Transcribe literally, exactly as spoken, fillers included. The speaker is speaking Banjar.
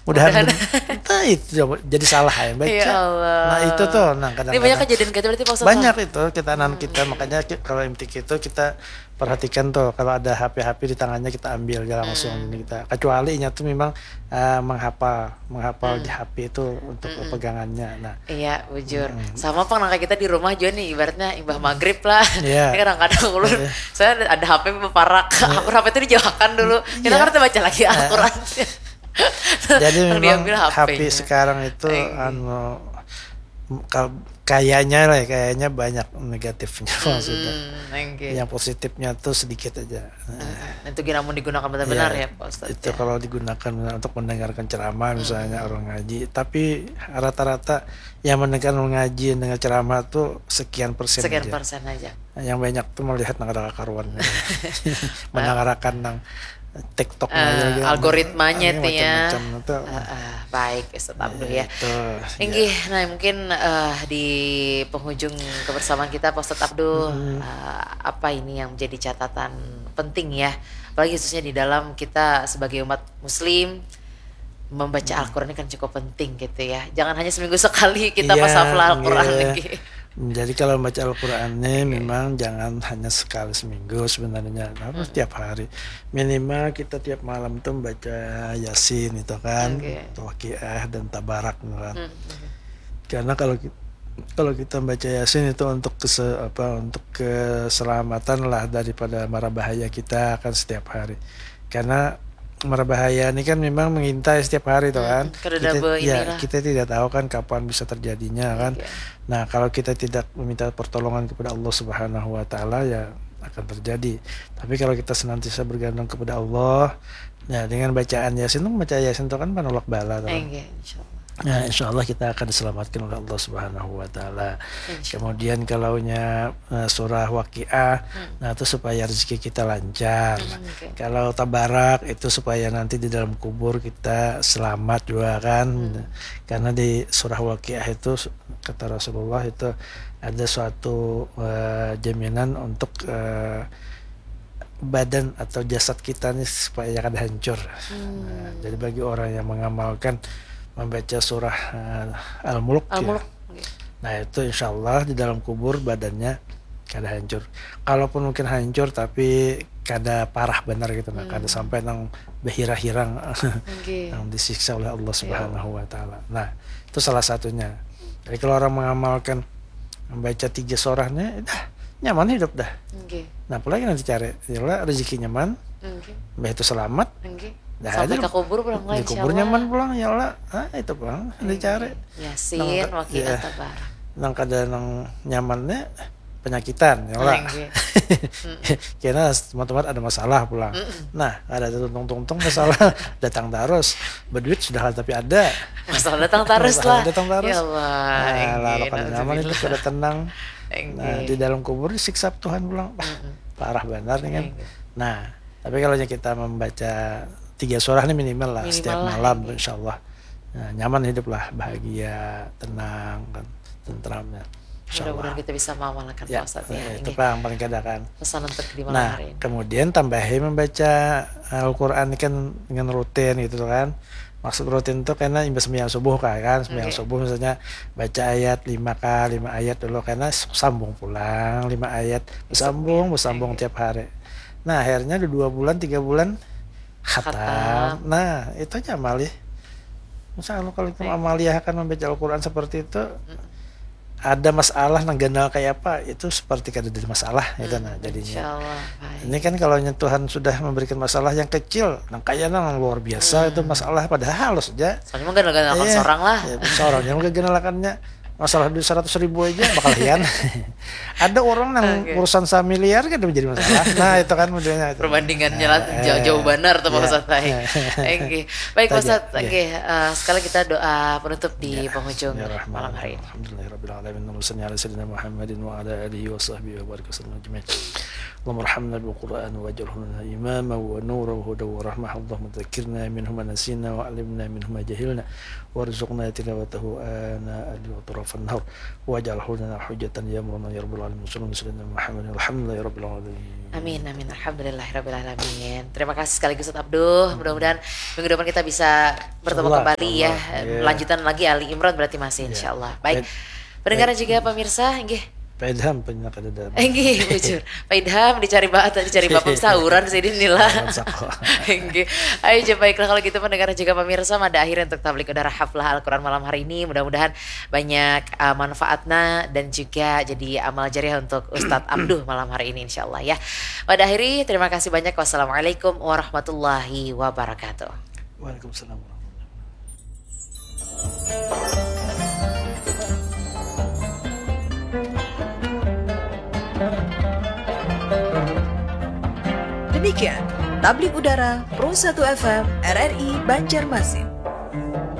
Mudahan, mudahan. Entah itu jadi salah ya baca. Ya Allah. Nah, itu tuh, nah, kadang-kadang ini banyak kejadian kayak itu berarti, Pak Ustadz, banyak itu kita anak kita, makanya kalau M T Q itu kita perhatikan tuh kalau ada H P-H P di tangannya kita ambil aja langsung. Hmm. Kita kecuali inya tuh memang uh, menghafal menghafal hmm. di H P itu untuk hmm. pegangannya. Nah, iya, bujur. Hmm. Sama pang nang kita di rumah juga nih, ibaratnya imbah maghrib lah. Iya. Kadang-kadang ulun, iya. Saya ada H P beparak, iya. Aku H P itu dijauhkan dulu. Kita iya. Kan baca lagi Al-Quran. Jadi memang H P sekarang itu anu kayaknya lah, kayaknya banyak negatifnya maksudnya. Yang positifnya tuh sedikit aja. Nah, itu gina mun digunakan benar-benar ya, Pak Ustadz. Itu kalau digunakan untuk mendengarkan ceramah misalnya orang ngaji, tapi rata-rata yang mendengar ngaji, dengar ceramah tuh sekian persen aja. Sekian persen aja. Yang banyak tuh melihat nang ada kakaruan. Mendengarkan nang TikTok uh, algoritmanya itu ya. Uh, uh, baik, Ustadz Abdul ya. Inggih, nah mungkin uh, di penghujung kebersamaan kita, Pak Ustadz Abdul, hmm. uh, apa ini yang menjadi catatan penting ya, apalagi khususnya di dalam kita sebagai umat Muslim membaca hmm. Al-Quran ini kan cukup penting gitu ya. Jangan hanya seminggu sekali kita ya, pas hafal Al-Quran lagi. Jadi kalau baca Al-Quran ini okay. Memang jangan hanya sekali seminggu sebenarnya, tapi hmm. Setiap hari. Minimal kita tiap malam tuh baca Yasin itu kan, okay. Waqiah dan Tabarak kan. Hmm. Karena kalau kita kalau kita baca Yasin itu untuk kese, apa untuk keselamatan lah daripada mara bahaya kita kan setiap hari. Karena mara bahaya ini kan memang mengintai setiap hari tuh kan. Hmm, kita, ya, kita tidak tahu kan kapan bisa terjadinya kan. Okay. Nah, kalau kita tidak meminta pertolongan kepada Allah Subhanahu wa taala ya akan terjadi. Tapi kalau kita senantiasa bergantung kepada Allah, ya dengan bacaan Yasin tuh, baca Yasin itu kan penolak bala tuh. Okay, insya Allah. Nah, insya Allah kita akan diselamatkan oleh Allah Subhanahu wa taala. Kemudian kalaunya uh, surah Waqiah, hmm. Nah itu supaya rezeki kita lancar. Hmm, okay. Kalau Tabarak itu supaya nanti di dalam kubur kita selamat juga kan. Hmm. Karena di surah Waqiah itu kata Rasulullah itu ada suatu uh, jaminan untuk uh, badan atau jasad kita nih supaya kada hancur. Hmm. Nah, jadi bagi orang yang mengamalkan membaca surah uh, Al-Mulk, Al-Mulk ya. Nah itu insya Allah di dalam kubur badannya kada hancur. Kalaupun mungkin hancur tapi kada parah benar gitu, nah, hmm. Kada sampai nang behirang-hirang okay. Yang disiksa oleh Allah Subhanahu wa taala. Nah, itu salah satunya. Jadi kalau orang mengamalkan membaca tiga surahnya, dah nyaman hidup dah. Okay. Nah, apalagi nanti cari, ya rezeki nyaman, okay. Itu selamat. Okay. Nah, sampai ke kubur pulang lah, di kubur nyaman pulang ya Allah. Ah, itu pulang dicari. Yasin, Waqiah, Tabarak. Nang kada nang nyamannya penyakitan ya lah. Kena teman-teman ada masalah pulang. Mm-mm. Nah, ada tuntung-tuntung masalah datang terus. Berduit sudah tapi ada. Masalah datang terus lah. Datang terus. Ya Allah. Nah, lalu kada nyaman itu kada tenang. Nah, di dalam kubur disiksa Tuhan pulang. Bah, parah benar nih kan. Nah, tapi kalau kita membaca tiga surah ini minimal lah minimal setiap lah, malam, insya Allah. Nah, nyaman hidup lah, bahagia, tenang, kan, tentram ya. Mudah-mudahan kita bisa mengamalkan ya, Pak Ustadz ya. Itu yang paling kada kan. Pesan untuk di malam nah, hari ini. Kemudian tambahi membaca Al-Quran kan dengan rutin gitu kan. Maksud rutin itu karena imbas sembahyang subuh kan, kan sembahyang okay. Subuh misalnya baca ayat lima kali, lima ayat dulu karena sambung pulang lima ayat, bersambung, bersambung okay. Tiap hari. Nah akhirnya udah dua bulan, tiga bulan khatam. Khatam. Nah itu aja amalih. Insya Allah kalau kita okay. Amaliahkan membaca Al-Quran seperti itu, hmm. Ada masalah nang ganal kayak apa itu seperti kada ada masalah gitu hmm, nah jadinya. Insya Allah, baik. Ini kan kalau Tuhan sudah memberikan masalah yang kecil, nang kaya nang luar biasa hmm. Itu masalah padahal halus aja. Soalnya mungkin ganal-ganal iya, seorang lah. Ya, seorang yang mungkin ganalakannya masalah duit seratus ribu aja bakal hian. Ada orang yang okay. Urusan samiliar kan menjadi masalah. Nah itu kan modelnya itu. Perbandingannya lah eh, jauh-jauh benar tuh Pak Ustadz. Iya. Baik Pak Ustadz, okay. Uh, sekali kita doa penutup di ya. Penghujung ya, malam hari ini. Alhamdulillahirabbil alamin. Allahumma shalli ala sayyidina Muhammadin wa ala alihi wa sahbihi wa barik wasallam ajmain. اللهم ارحمنا بالقرآن واجعله لنا إماما ونورا وهدى ورحمة. اللهم ذكرنا منه ما نسينا وعلمنا منه ما جهلنا وارزقنا تلاوته آناء الليل وأطراف النهار واجعله لنا حجة يا مولانا يا رب العالمين. وصلى الله وسلم على محمد والحمد لله رب العالمين. Amin, amin. Alhamdulillahirrabbilalamin. Terima kasih sekaligus Ustaz Abduh. Mudah-mudahan minggu depan kita bisa bertemu Insyaallah, kembali ya. insyaallah. Iya. Lanjutan lagi Ali Imran berarti masih Iya. Insyaallah. Baik. Baik. Pendengar Baik. Juga pemirsa, inggih. Pak Idham, penyiar kada ada. Inggih, bujur. Pak Idham dicari ba atau dicari bapak sauran sini nila. Masak kok. Inggih. Ayo je, baiklah kalau gitu pendengar juga pemirsa, mada akhir untuk tablik udara haflah Al-Quran malam hari ini. Mudah-mudahan banyak uh, manfaatnya dan juga jadi amal jariah untuk Ustadz Abduh malam hari ini insyaallah ya. Mada akhiri, terima kasih banyak. Wassalamualaikum warahmatullahi wabarakatuh. Waalaikumsalam warahmatullahi wabarakatuh. Demikian Tablik Udara Pro satu F M R R I Banjarmasin.